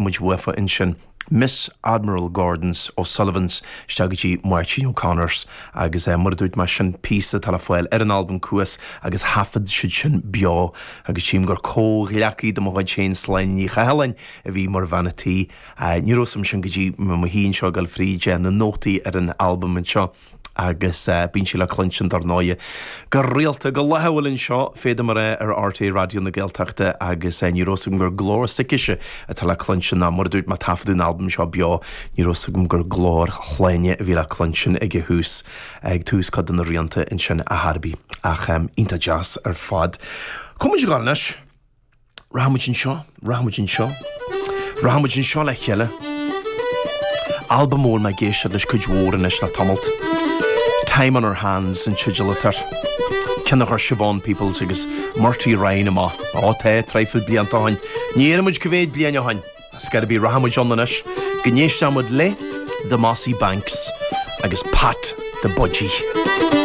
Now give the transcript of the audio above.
muid uafa ansin. Miss Admiral Gordon's O'Sullivan's isteach go dtí Máirtín O'Connor's agus mar a dúirt mé sin píosa atá le fáil ar an albam Cuas agus thaifead siad sin beo agus tchím gur comhghleacaí de mo chuid féin Sláine Ní Chathalláin a bhí mar bhean a' tí. Ní raibh 'fhios a'm sin go dtí mé i mo shuí anseo ag dul fríd na nótaí ar an albam anseo. agus bíonn sí le cluinstin dar ndóighe go rialta, go laethúil anseo, féadaim a rá, ar RTÉ Raidió na Gaeltachta agus ní raibh 'fhios agam gur glór s'aicise atá le cluinstin ná mar a dúirt mé taifeadadh an albam seo beo, ní raibh 'fhios agam gur glór Shláine a bhí le cluinstin ag a thús, ag tús cuid de na rianta ansin a thairbí. Ach iontach deas ar fad. Cá bhfuil muid ag dul anois? Rachaidh muid anseo, rachaidh muid anseo, rachaidh muid anseo le chéile. Albam a bhfuil mé ag éisteacht leis cuid mhór anois le tamalt. Time on Our Hands an teideal atá air. Ceann a chuir Siobhán Peoples agus Murty Ryan amach. Ó tá, traidhfil blianta ó shin. Ní déarfaidh muid cá mhéad bliain ó shin. Ar scor ar bith, rachaidh muid ann anois go n-éistfidh muid le The Mossy Banks agus Pat the Budgie.